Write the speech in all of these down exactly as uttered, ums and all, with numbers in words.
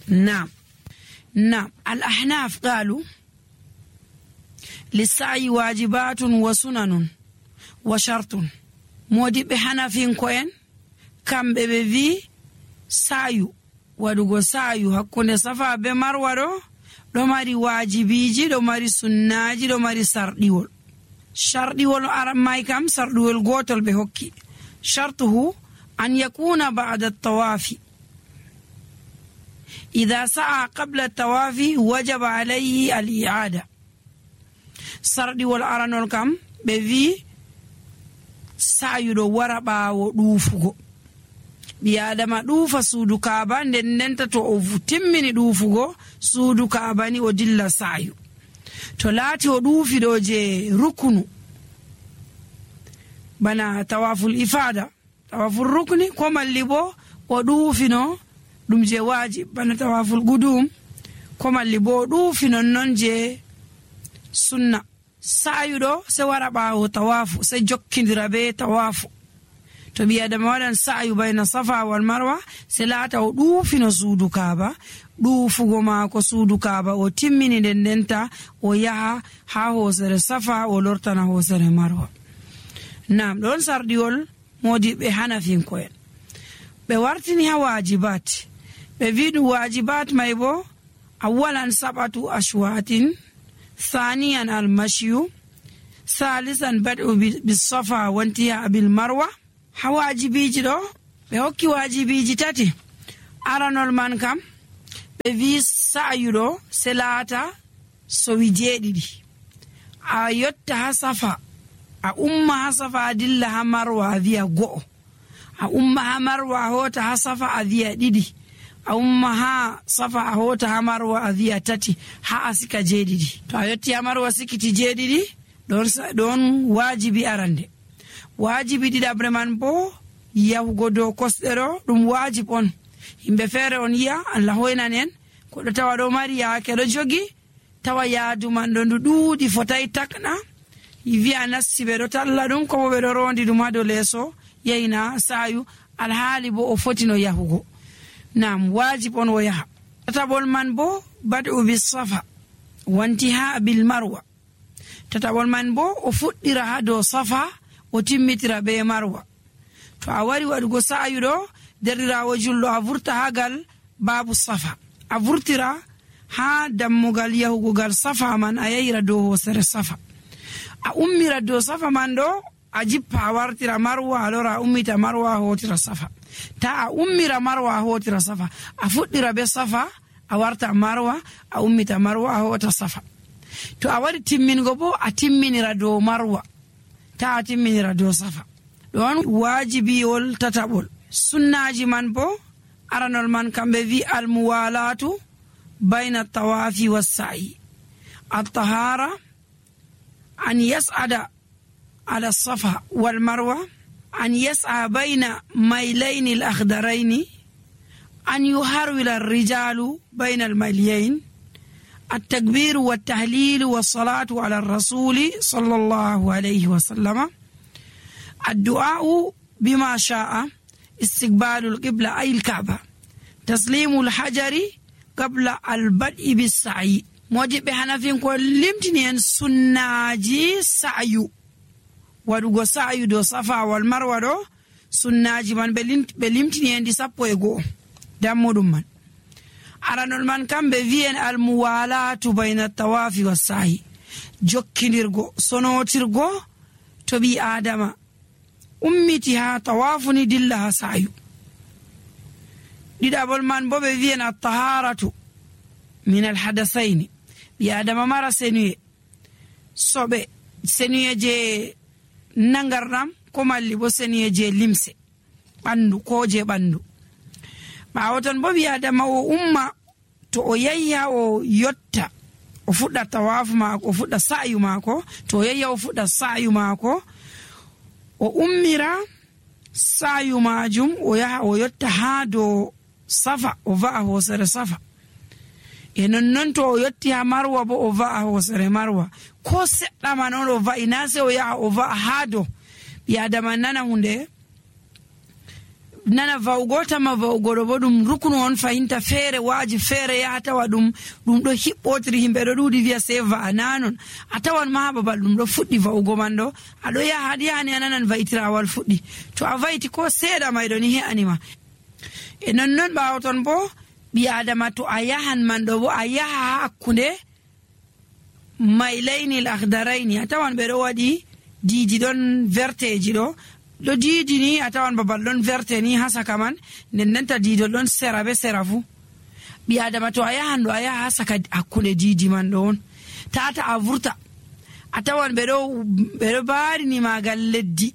نعم نعم الأحناف قالوا للسعي واجبات وسنن وشرط. مودي بحنفين كوين كم ببي سعيو ودوغو سعيو هكوني صفا بمروة دو ماري واجبيجي دو ماري سناجي دو ماري سرديول. شرديول أرم ماي كم سرديول غوتل بهوكي. شرطه أن يكون بعد الطواف. إذا سعى قبل الطواف وجب عليه الإعادة. سرديول أرانول كم بفي سعيو دو وربا ودوفغو. بيادما دوفا سودو كابا ندننتا تو اوفو تمني دوفغو سودو كاباني ودilla سعيو. تو لاتي ودوفي دو جي ركنو بنا طواف الإفادة طواف الركن كما اللي بو ودوفي نو دم جي واجب بنا طواف القدوم كما اللي بو دوفي نو نون جي سنة. سعيو دو سوارا باو طوافو سجوكين بي طوافو. to bi adama wadan sa'yu bayna safa wal marwa selata o dufino suudu kaaba dufugo maako suudu kaaba o timmini den denta o yaha ha hosere safa o lortana hosere marwa. Nam don sardiol modi be hanafin koyen be wartini ha wajibat be vidu wajibat maybo awalan sabatu ashwatin thaniyan al mashyu salisan bad'u bis safa wa intiha bil marwa. Ha wajibiji do be hokki wajibiji tati. Aranol man kam be vi sa'yu do selata so wijeedidi a yotta ha safa a umma ha safa dilla ha marwa viya go a umma ha marwa hota ha safa a viya didi a umma ha safa a hota ha marwa a viya tati ha asika jeedidi. To a yotti ha marwa sikiti jeedidi don don wajibi arande. wajibi didabre man bo yahugo do kosdero dum wajib on. Himbe fere on yi'a Allah hoynanen ko do tawa do mari yaake do jogi tawa yaadu man do duudi fotay takna yivi anasibe do talla dum ko be do rondi dum hado leso yeyna sayu alhaali bo o fotino yahugo. Nam wajib on wo yaha. Tatabol man bo bad'u bis safa wa intiha bil marwa. Tatabol man bo o fuddira ha do safa o timmitira be marwa. To a wari wadugo sa'yu do derirawo jullo a vurta hagal babu safa a vurtira ha dammugal yahugo gal safa man a yayira do hosere safa a ummira do safa man do a jippa a wartira marwa alora a ummita marwa a hotira safa. Ta a ummira marwa a hotira safa a fuddira be safa a warta marwa a ummita marwa a hota safa. To a wari timmingo bo a timminira do marwa ta timminira do safa. Don wajibi wol tatabol. Sunnaji man bo aranol man kambe vi al muwalatu bayna tawafi was sa'i. At-tahara an yas'ada ala safa wal marwa an yas'a bayna maylayn al akhdarayn an yuharwila ar-rijalu bayna al maylayn. التكبير والتهليل والصلاة على الرسول صلى الله عليه وسلم. الدعاء بما شاء استقبال القبلة أي الكعبة. تسليم الحجر قبل البدء بالسعي. موجب بحنفين كلمتني سناجي سعيو ودوغو سعيو دو صفا والمروة دو سناجي من بلمتني دي سابو يغو دامو دمان. aranol man kambe viyen al muwalatu bayna tawafi was sa'i jokkinirgo sonotirgo to bi adama ummiti ha tawafuni dilla ha sa'yu. didabol man bo be viyen at taharatu min al hadathaini bi adama mara senuye sobe senuye je nangardam ko malli bo senuye je limse bandu ko je bandu. Bawoton bo bi adama o umma to o yayya o yotta o fudda tawafu mako o fudda sa'yu mako to o yayya o fudda sa'yu mako o ummira sa'yu majum o yaha o yotta ha do safa o va'a hosere safa e non non to o yotti ha marwa bo o va'a hosere marwa ko sedda man on o va'ina se o yaha o va'a ha do bi adama nana hunde nana va'ugo tama va'ugo ɗo bo ɗum rukunu on fahinta feere waji feere yaha tawa ɗum ɗum ɗo hiɓɓotiri himɓe ɗo ɗuɗi wiya sei va'a nanon a tawan ma babal ɗum ɗo fuɗɗi va'ugo man ɗo aɗo yaha aɗa yahani a nanan va'itirawal fuɗɗi to a va'iti ko seeɗa mayɗo ni he'anima e nonnon ɓawo ton bo ɓi adama to a yahan man ɗo bo a yaha ha hakkunde mailaynil akhdaraini a tawan ɓe ɗo waɗi diidi ɗon verteji ɗo ɗo diidi ni a tawan babal ɗon verte ni ha saka man nden ndenta diidol ɗon sera be sera fu ɓi adama to a yahan ɗo a yaha ha saka hakkunde diidi man ɗo on tata a vurta a tawan ɓe ɗo ɓe ɗo barini magal leddi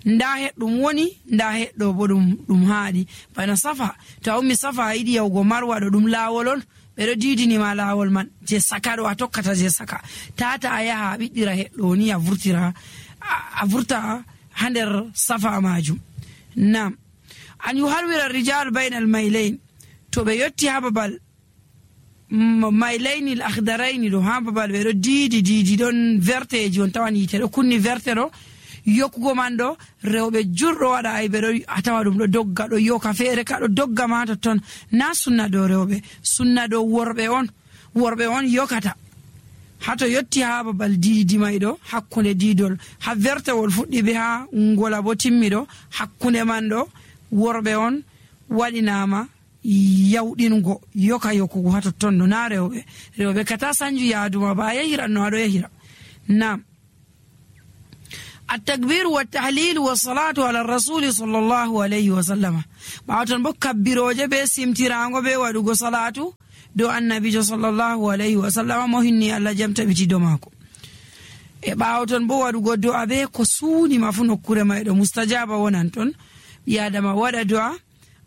nda heɗɗum woni nda heɗɗo bo ɗum ɗum haaɗi bana safa to a ummi safa a yiɗi yahugo marwa ɗo ɗum laawol on ɓe ɗo diidinima laawol man je saka ɗo a tokkata je saka tata a yaha a ɓiɗɗira heɗɗo ni a vurtira a vurta ha nder safa majum. Nam an yuharwira rijal bayna al mailain to ɓe yotti ha babal mailaini al akhdaraini ɗo ha babal ɓe ɗo diidi diidi ɗon verteji on tawan yite ɗo kunni verte ɗo yokkugo man ɗo rewɓe jurɗo waɗa ay ɓe ɗo a tawa ɗum ɗo dogga ɗo yoka feere ka ɗo dogga ma totton na sunna dow rewɓe sunna dow worɓe on worɓe on yokata hato yotti ha babal diidi may ɗo hakkunde diidol ha vertewol fuɗɗi be ha ngola bo timmi ɗo hakkunde man ɗo worɓe on waɗinama yawɗingo yoka yokkugo ha totton ɗo na rewɓe rewɓe kata sanju yaaduma ba a yahiran no aɗo yahira. Nam التكبير والتحليل والصلاة على الرسول صلى الله عليه وسلم باوتن بو كبيروجه be simtirango be wadugo salatu do annabi sallallahu alaihi wasallam mo hinni Allah jamta biti do mako e baawton bo wadugo do abe ko suuni mafu nokkure maydo mustajaba wonan ton biadama wada do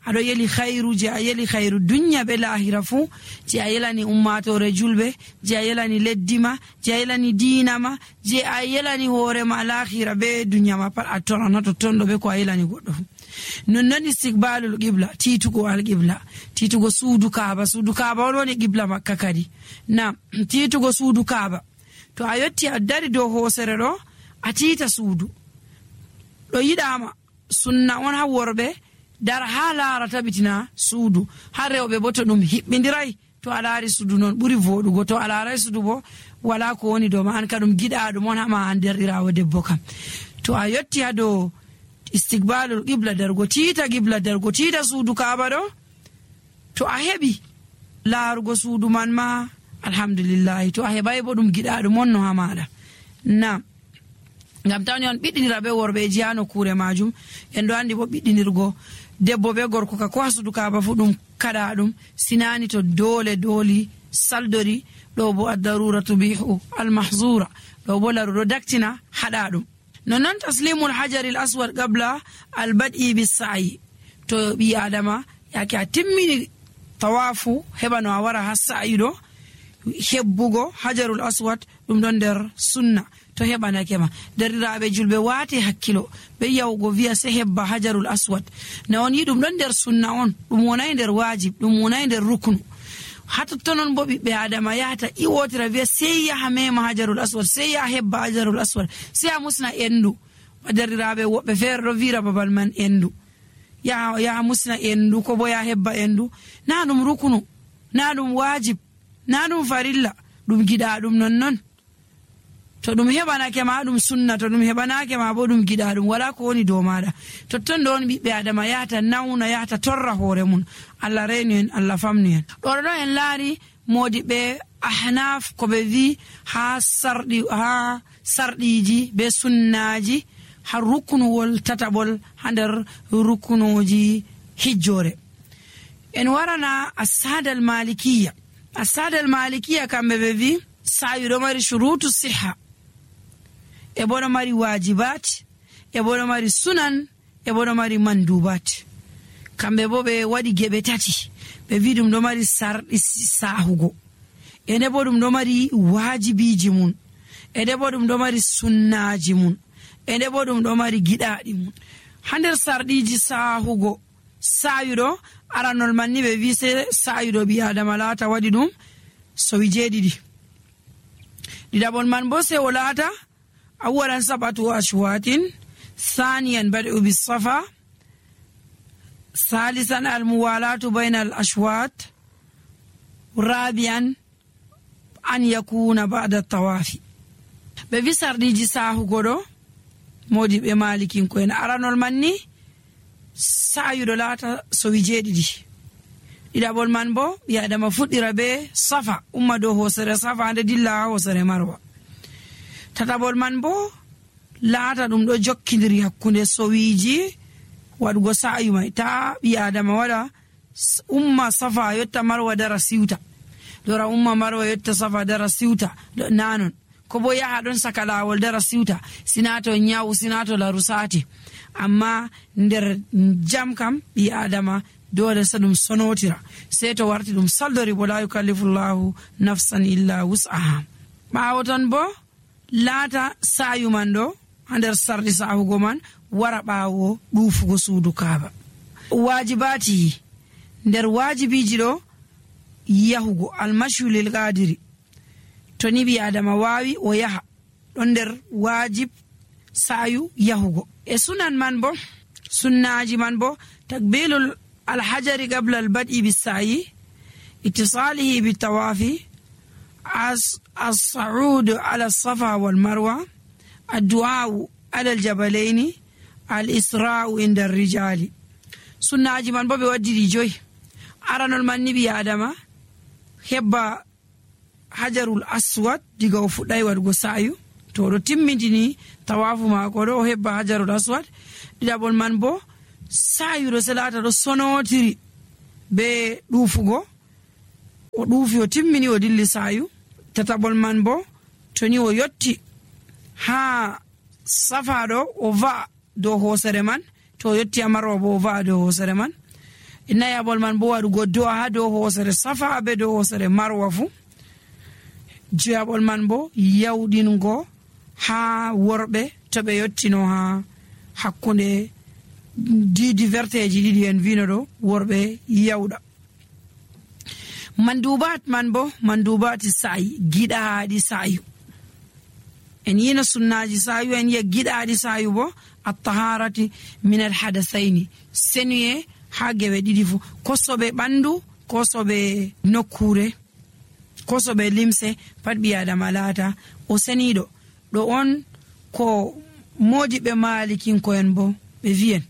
ado yeli khairu je ayeli khairu dunya be lahira fu je ayelani ummatore julbe je ayelani leddima je ayelani dinama je ayelani hore ma lahira be dunya ma pat atona nato tondo be ko ayelani goddo non non istiqbalul qibla titugo al qibla titugo suudu kaaba suudu kaaba woni qibla makka kadi na titugo suudu kaaba to ayotti addari do hosere do atita suudu do yidama sunna on ha worbe dar ha laara tabitina suudu ha rewɓe bo to ɗum hiɓɓindiray to a laari suudu noon ɓuri voɗugo to a laaray suudu bo wala ko woni dow ma an ka ɗum giɗa ɗum on hama an derɗirawo debbo kam to a yotti ha dow istiqbalul qibla dargo tiita qibla dargo tiita suudu kaaba ɗo to a heɓi laarugo suudu man ma alhamdulillahi to a heɓay bo ɗum giɗa ɗum on no ha maɗa. Nam ngam tawni on ɓiɗɗinira be worɓeji ha nokkure majum en ɗo andi bo ɓiɗɗinirgo debbo be gorko ka ko ha suudu kaaba fu ɗum kaɗa ɗum sinani to dole doli saldori ɗo bo addarura tubihu almahzura ɗo bo laru ɗo daktina haɗa ɗum nonnon taslimul hajari l aswad qabla albad'i bissa'i to ɓi adama yake a timmini tawafu heɓa no a wara ha sa'i ɗo hebbugo hajarul aswad ɗum ɗon nder sunna to heɓanake ma derɗiraɓe julɓe waate hakkilo ɓe yawgo wiya se hebba hajarul aswad na on yi ɗum ɗon nder sunna on ɗum wonay nder wajib ɗum wonay nder ruknu hatottonon bo ɓiɓɓe adama yahata iwotira wiya sey yaha mema hajarul aswad sey yaha hebba hajarul aswad sey a musna endu derɗiraɓe woɓɓe feere ɗo wira babal man endu yaha yaha musna endu ko bo yaha hebba endu na ɗum ruknu na ɗum wajib na ɗum farilla ɗum giɗa ɗum nonnon to ɗum heɓanake ma ɗum sunna to ɗum heɓanake ma bo ɗum giɗa ɗum wala ko woni dow maɗa totton ɗo on ɓiɓɓe adama yahata nawna yahata torra hoore mum Allah reynu en Allah famnu en ɗoɗo ɗo en laari modiɓe ahnaf ko ɓe wi ha sarɗi ha sarɗiji be sunnaji ha ruknuwol tataɓol ha nder ruknuji hijjore en warana asadal malikiya asadal malikiya kamɓe ɓe wi sa'i ɗo mari shurutu siha e boɗo mari wajibat e boɗo mari sunan e boɗo mari mandubat kamɓe bo ɓe waɗi geɓe tati ɓe wi ɗum ɗo mari sarɗi sahugo ene bo ɗum ɗo mari wajibiji mun ene bo ɗum ɗo mari sunnaji mun ene bo ɗum ɗo mari giɗaɗi mun ha nder sarɗiji sahugo sayuɗo aranol man ni ɓe wi se sayuɗo ɓi adama laata waɗi ɗum sowi jeeɗiɗi ɗiɗaɓol man bo se o laata أولا سبعة أشواط ثانيا بدء بالصفا salisan almuwalatu bayna al ashwat, rabi'an an yakuna ba'da tawafi. ɓe wi sarɗiji sahugo ɗo modi ɓe malikinko en aranol manni sayuɗo laata sowi jeeɗiɗi. ɗiɗaɓol man bo ɓi adama fuɗɗira be safa umma dow hosere safa nde dilla ha hosere marwa. tataɓol man bo laata ɗum ɗo jokkidiri hakkunde sowiji waɗugo sayu mai, ta ɓi adama waɗa umma safa yotta marwa dara siwta, dora umma marwa yotta safa dara siwta nanon, ko bo yaha ɗon saka lawol dara siwta, sinato nyawu sinato laru sati. amma nder jam kam ɓi adama dole sa ɗum sonotira, sei to warti ɗum saldori bo la yukallifullahu nafsan illa wus'aha. ɓawo ton bo laata sayu man ɗo ha nder sarɗi sahugo man wara ɓawo ɗufugo suudu kaaba. wajibati nder wajibiji ɗo yahugo almashu lil qadiri, to ni ɓi adama wawi o yaha ɗon nder wajib sayu yahugo. e sunan man bo sunnaji man bo takbilul alhajari qabla albad'i bisayi, ittisalihi bitawafi, as-sa'ud ala safa wal marwa, addu'a ala aljabalaini, al-isra'u inda ar-rijali. sunnaji man bo ɓe waddidi joyi. aranol man ni ɓi adama hebba hajarul aswad diga o fuɗɗai waɗugo sayu, to ɗo timmintini tawafu mako ɗo o hebba hajarul aswad. ɗiɗaɓol man bo sayu ɗo selata ɗo sonotiri be ɗufugo, o ɗufi o timmini o dilli sayu. tataɓol man bo to ni o yotti ha safa ɗo o va'a dow hosere man, to o yotti ha marwa bo o va'a dow hosere man. nayaɓol man bo waɗugo do'a ha dow hosere safa be dow hosere marwa fu. joyaɓol man bo yawɗingo ha worɓe to ɓe yottino ha hakkunde didi verteji ɗiɗi en vino ɗo worɓe yawɗa. mandubat man bo mandubati sa'i, giɗaɗi sayu. en yina sunnaji sayu, en yiya giɗaɗi sayu bo at-taharati min al-hadathaini, senuye ha gewe ɗiɗi fu, kosoɓe ɓandu kosoɓe nokkure kosoɓe limse pat ɓi adama laata o seniɗo. ɗo on ko modiɓe malikinko en bo ɓe viyen.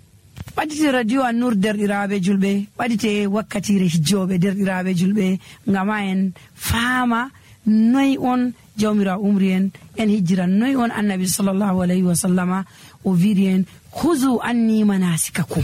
ɓaɗite radio An-Nur derɗiraɓe julɓe, ɓaɗite wakkatire hijjoɓe derɗiraɓe julɓe, ngama en faama noy on jawmira umri en en hijjiran, noy on annabi sallallahu alayhi wa sallama o wiri en huzu anni manasikakum.